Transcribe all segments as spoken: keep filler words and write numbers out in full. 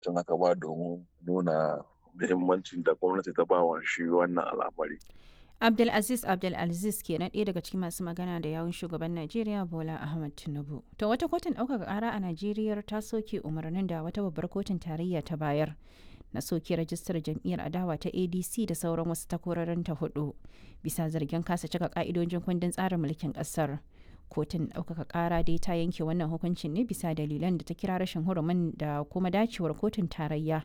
Tun aka ba domin nuna muhimmancin da gwamnati ta ba wa shi wannan al'amari. Abdulaziz Abdulaziz kenan ɗaya daga cikin masu magana da yawun shugaban Najeriya Bola Ahmed Tinubu. To wata kotun ɗaukaka ƙara a Najeriya ta soke umarnin da wata babbar kotun tarayya ta bayar na soke rajistar jam'iyyar adawa ta A D C da sauran wasu takwarorin ta hudu bisa zargin kasa cika ka'idojin kundin tsarin mulkin ƙasar. Kotun ɗaukaka ƙara dai ta yanke wannan hukuncin ne bisa dalilan da ta kira rashin hurumin da kuma dacewar kotun tarayya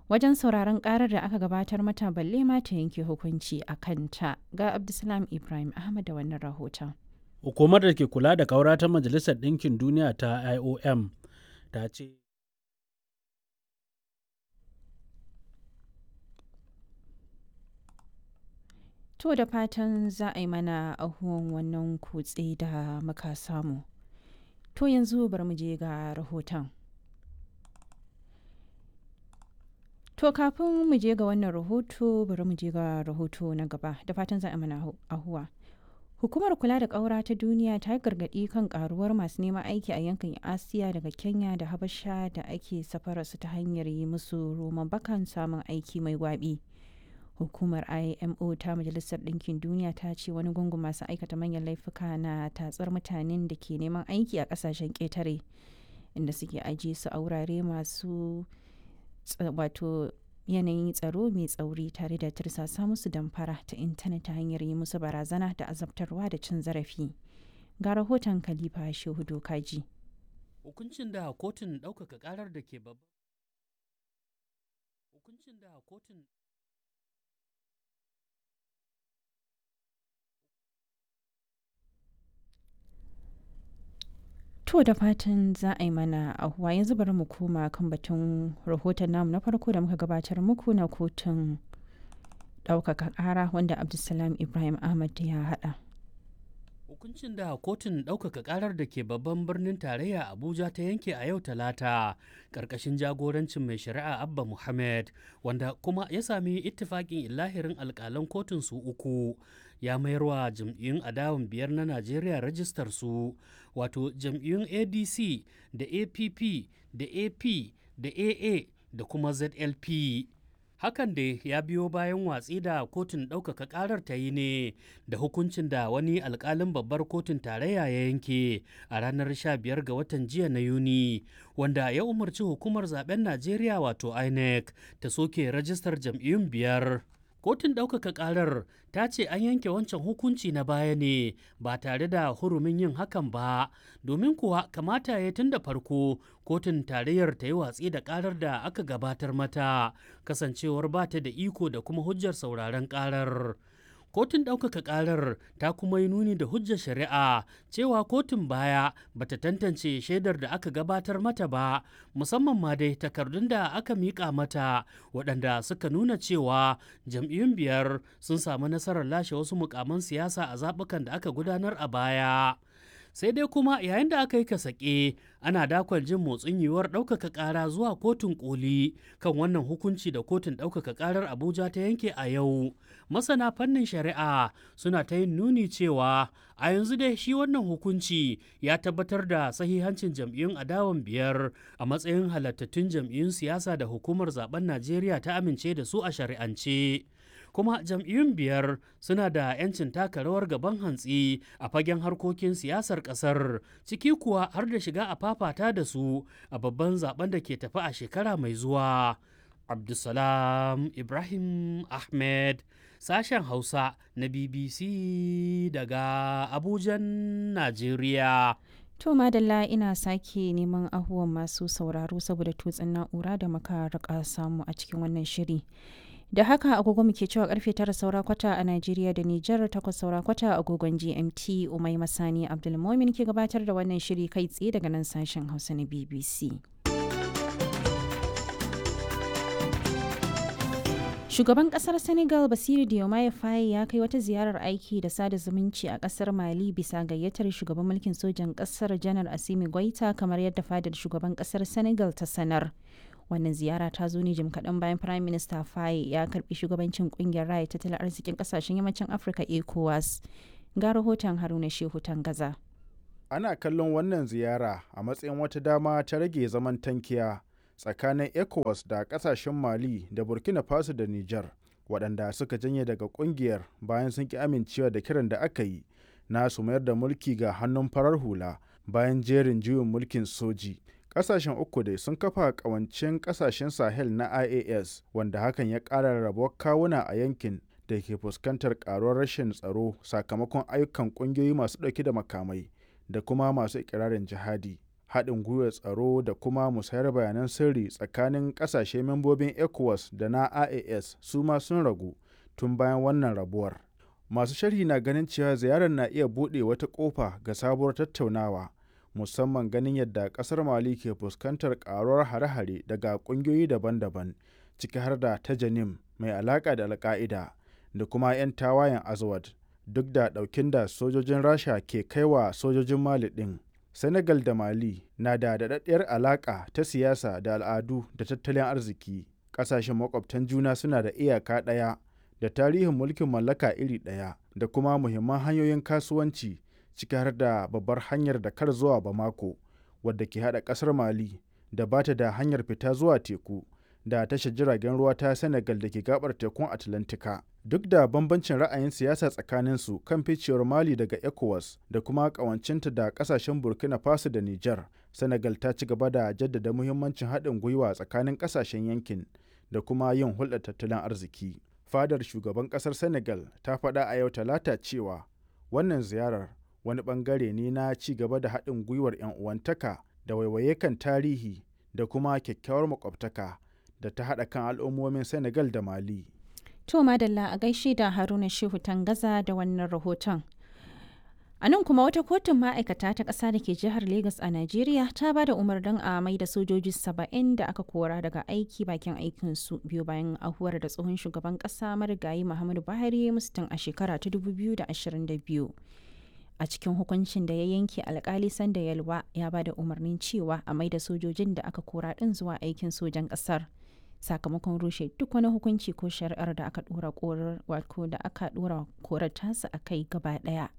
wajen sauraron karar da aka gabatar mata, balle ma ta yanke hukunci a kanta. Ga Abdulsalam Ibrahim Ahmad da wannan rahoton. Hukumar da ke kula da kaura ta Majalisar Ɗinkin Duniya ta I O M ta ce To, da fatan za a yi mana ahuwan wannan kutse da muka samu. To, yanzu bari mu je ga rahoton. To, kafin mu je ga wannan rahoto, bari mu je ga rahoto na gaba, da fatan za a mana ahuwa. Hukumar kula da ƙaura ta duniya ta yi gargaɗi kan ƙaruwar masu neman aiki a yankin Asiya daga Kenya da Habasha da ake safararsu ta hanyar yi musu roman bakan samun aiki mai gwabi. Hukumar I M O ta Majalisar Ɗinkin Duniya ta ce wani gungun masu aikata manyan laifuka na tatsar mutanen da ke neman aiki a ƙasashen ƙetare, inda suke ajiye su a wurare masu wato yanayin tsaro mai tsauri, tare da tirsasa musu damfara ta intanet ta hanyar yi musu barazana da azabtarwa da cin zarafi. Ga rahoton Khalifa Shehu Dokaji. Hukuncin da kotun ɗaukaka ƙarar da ke babban hukuncin da kotun To, da fatan za a yi mana ahuwa. Yanzu bari mu koma kan batun rahoton namu na farko da muka gabatar muku na kotun ɗaukaka ƙara wanda Abdulsalam Ibrahim Ahmad ya haɗa. Hukuncin da kotun ɗaukaka ƙarar da ke babban birnin tarayya Abuja ta yanke a yau Talata, ƙarƙashin jagorancin mai shari'a Abba Muhammad, wanda kuma ya sami ittifaƙin illahirin alƙalan kotun su uku, ya mayarwa jam'iyyun adawan biyar na Najeriya rajistar su, wato jam'iyyun A D C da A P P da A P da A A da kuma Z L P. Hakan dai ya biyo bayan watsi da kotun ɗaukaka ƙarar ta yi ne da hukuncin da wani alƙalin babbar kotun tarayya ya yanke a ranar sha biyar ga watan jiya na Yuni, wanda ya umarci hukumar zaben Najeriya wato INEC ta soke rajistar jam'iyyun biyar. Kotun ɗaukaka ƙarar ta ce an yanke wancan hukunci na baya ne ba tare da hurumin yin hakan ba, domin kuwa kamata ya tun da farko kotun tarayyar ta yi watsi da ƙarar da aka gabatar mata, kasancewar ba ta da iko da kuma hujjar sauraron ƙarar. Kotun ɗaukaka ƙarar ta kuma yi nuni da hujjar shari'a cewa kotun baya bata tantance shaidar da aka gabatar mata ba, musamman ma dai takardun da aka miƙa mata waɗanda suka nuna cewa jam'iyyun biyar sun samu nasarar lashe wasu mukaman siyasa a zaɓukan da aka gudanar a baya. Sai dai kuma yayin da aka yi kasake ana dakon jin motsin yiwuwar ɗaukaka ƙara zuwa kotun koli kan wannan hukunci da kotun ɗaukaka ƙarar Abuja ta yanke a yau, masana fannin shari'a suna ta yin nuni cewa a yanzu dai shi wannan hukunci ya tabbatar da sahihancin jam'iyyun adawan biyar a matsayin halattattun jam'iyyun siyasa da hukumar zaben Najeriya ta amince da su a shari'ance, kuma jam'iyyun biyar suna da 'yancin taka rawar gaban hantsi a fagen harkokin siyasar kasar, ciki kuwa har da shiga a fafata da su a babban zaben da ke tafi a shekara mai zuwa. Abdulsalam Ibrahim Ahmed, sashen Hausa na B B C daga Abujan, Najeriya. To madalla, ina sake neman ahuwan masu sauraro saboda tutsin na'ura da muka rika samu a cikin wannan shiri. Da haka agogo muke cewa karfe tara saura kwata a Najeriya da Nijar, takwas saura kwata agogon G M T. Umai Masani Abdulmomin ke gabatar da wannan shiri kai tsaye daga nan sashen Hausa na B B C. Shugaban kasar Senegal Basiru Diomaye Faye ya kai wata ziyarar aiki da sada zumunci a kasar Mali bisa gayyatar shugaban mulkin sojan kasar Janar Asimi Goita, kamar yadda fadar shugaban kasar Senegal ta sanar. Wannan ziyara ta zo ne jim kaɗan bayan Prime Minister Faye ya karbi shugabancin kungiyar raya tattalin arzikin kasashen yammacin Afirka ECOWAS. Ga rahoton Haruna Shehu Tangaza. Ana kallon wannan ziyara a matsayin wata dama ta rage zaman tankiya tsakanin ECOWAS da ƙasashen Mali da Burkina Faso da Nijar, waɗanda suka janye daga ƙungiyar bayan sun ƙi amincewa da kiran da aka yi na su mayar da mulki ga hannun farar hula bayan jerin juyin mulkin soji. Ƙasashen uku dai sun kafa ƙawancen ƙasashen Sahel na I A S, wanda hakan ya ƙara rabuwar kawuna a yankin da ke fuskantar ƙaruwar rashin tsaro sakamakon ayyukan ƙungiyoyi masu ɗauke da makamai da kuma masu iƙirarin jihadi. Haɗin gwiwar tsaro da kuma musayar bayanan sirri tsakanin ƙasashe membobin ECOWAS da na I A S su ma sun ragu tun bayan wannan rabuwar. Masu sharhi na ganin cewa ziyarar na iya buɗe wata ƙofa ga sabuwar tattaunawa, musamman ganin yadda ƙasar Mali ke fuskantar ƙaruwar hare-hare daga ƙungiyoyi daban-daban, ciki har da ta Janim mai alaƙa da Al-Ƙa'ida da kuma 'yan tawayen Azawad, duk da ɗaukin da sojojin Rasha ke kaiwa sojojin Mali ɗin. Senegal da Mali na da daɗaɗɗiyar alaƙa ta siyasa da al'adu da tattalin arziki. Ƙasashen maƙwabtan juna suna da iyaka ɗaya da tarihin mulkin mallaka iri ɗaya da kuma muhimman hanyoyin kasuwanci, ciki har da babbar hanyar Dakar zuwa Bamako, wadda ke haɗa ƙasar Mali da ba ta da hanyar fita zuwa teku da tashar jiragen ruwa ta Senegal da ke gabar tekun Atlantika. Duk da bambancin ra'ayin siyasa tsakaninsu kan ficewar Mali daga ECOWAS da kuma ƙawancinta da ƙasashen Burkina Faso da Nijar, Senegal ta ci gaba da jaddada muhimmancin haɗin gwiwa tsakanin ƙasashen yankin da kuma yin hulɗar tattalin arziki. Fadar shugaban ƙasar Senegal ta faɗa a yau Talata cewa wannan ziyarar wani ɓangare ne na ci gaba da haɗin gwiwar 'yan uwantaka da waiwaye kan tarihi da kuma kyakkyawar makwabtaka da ta haɗa kan al'ummomin Senegal da Mali. To madalla, a gaishe da Haruna Shehu Tangaza da wannan rahoton. A nan kuma, wata kotun ma'aikata ta ƙasa da ke jihar Legas a Najeriya ta ba da umarnin a mai da sojoji saba'in da aka kora daga aiki bakin aikinsu, biyu bayan ahuwar da tsohon shugaban ƙasa marigayi Muhammadu Buhari musu tun a shekara ta dubu biyu da ashirin da biyu. A cikin hukuncin da ya yanke, alkali Sanda Yalwa ya ba da umarnin cewa a mai da sojojin da aka kora ɗin zuwa aikin sojan ƙasar, sakamakon rushe duk wani hukunci ko shari'ar da aka dora korar, wato da aka dora korar tasa a kai gaba daya.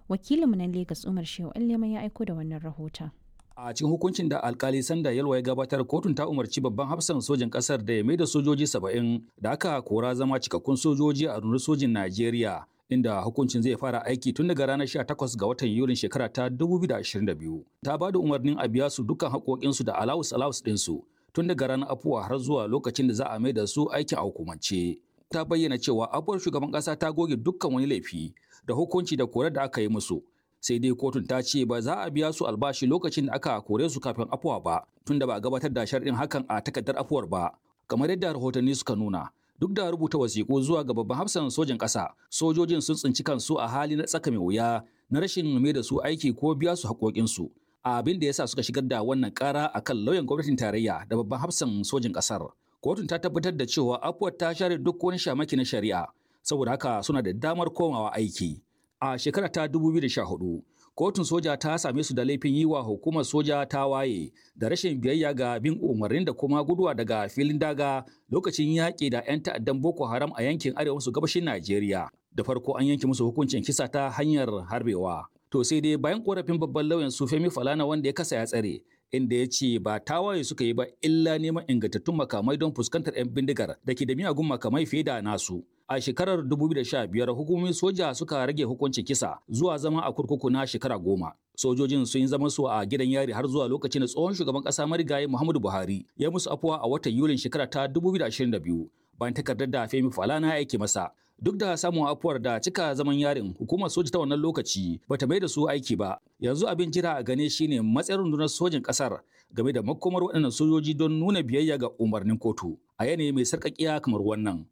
Wakilinmu na Lagos, Umar Shehu Allema, ya aiko da wannan rahoton. A cikin hukuncin da alkali Sanda Yalwa ya gabatar, kotun ta umarci babban hafsan sojin kasar da ya maida sojoji saba'in da aka kora zama cikakkun sojoji a rundunar sojin Najeriya, inda hukuncin zai fara aiki tun daga ranar sha takwas ga watan Yulin shekara ta dubu biyu da ashirin da biyu. Ta ba da umarnin a biya su dukkan haƙoƙinsu da alawus alawus ɗinsu tun daga ranar afuwa har zuwa lokacin da za a maida su aikin a hukumance. Ta bayyana cewa afuwar shugaban ƙasa ta goge dukkan wani laifi da hukunci da korar da aka yi musu. Sai dai kotun ta ce ba za a biya su albashi lokacin da aka kore su kafin afuwa ba, tunda ba a gabatar da sharɗin hakan a takardar afuwar ba. Kamar yadda rahotanni suka nuna, duk da rubuta wasiƙu zuwa ga babban hafsan sojin ƙasa, sojojin sun tsinci kansu a hali na tsaka mai wuya na rashin mai da su aiki ko biya su haƙoƙinsu, abin da yasa suka shigar da wannan ƙara akan lauyan gwamnatin tarayya da babban hafsan sojin ƙasar. Kotun ta tabbatar da cewa afuwar ta share duk wani shamaki na shari'a, saboda haka suna da damar komawa aiki. A shekara ta dubu biyu da sha huɗu, kotun soja ta same su da laifin yi wa hukumar soja ta waye da rashin biyayya ga bin umarnin da kuma guduwa daga filin daga lokacin yaƙi da 'yan ta'addan Boko Haram a yankin arewa maso gabashin Najeriya. Da farko an yanke musu hukuncin kisa ta hanyar harbewa. To sai dai bayan korafin babban lauyan su Femi Falana, wanda ya kasa ya tsare, inda ya ce ba tawaye suka yi ba illa neman ingantattun makamai don fuskantar 'yan bindigar da ke da miyagun makamai fiye da nasu. A shekarar dubu biyu da sha biyar hukumomin soja suka rage hukuncin kisa zuwa zama a kurkuku na shekara goma. Sojojin sun yi zaman su a gidan yari har zuwa lokacin da tsohon shugaban kasa marigayi Muhammadu Buhari ya musu afuwa a watan Yulin shekara ta dubu biyu da ashirin da biyu, bayan takardar da Femi Falana ya aike masa. Duk da samun afuwar da cika zaman yarin, hukumar soja ta wannan lokaci bata mai da su aiki ba. Yanzu abin jira a gane shine matsayin rundunar sojin kasar game da makomar waɗannan sojoji don nuna biyayya ga umarnin kotu a yanayi mai sarƙaƙiya kamar wannan.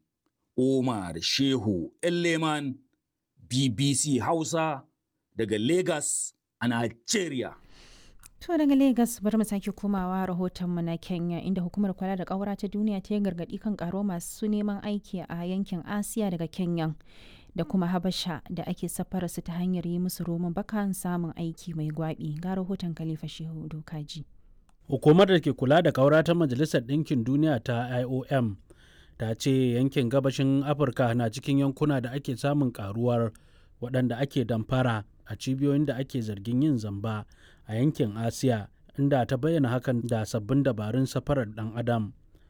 Umar Shehu Elleman, B B C Hausa, daga Lagos a Nigeria. To daga Lagos bari mu sake komawa rahotonmu na Kenya, inda hukumar kula da ƙaura ta duniya ta yi gargaɗi kan ƙaro masu neman aiki a yankin Asiya daga Kenya da kuma Habasha da ake safara su ta hanyar yi musu roman bakan samun aiki mai gwabi. Ga rahoton Khalifa Shehu Dokaji. Hukumar da ke kula da ƙaura ta Majalisar Ɗinkin Duniya ta I O M ta ce yankin gabashin Afirka na cikin yankuna da ake samun karuwar waɗanda ake damfara a cibiyoyin da ake zargin yin zamba a yankin Asiya. inda ta bayyana hakan da sabbin dabarun safarar ɗan adam.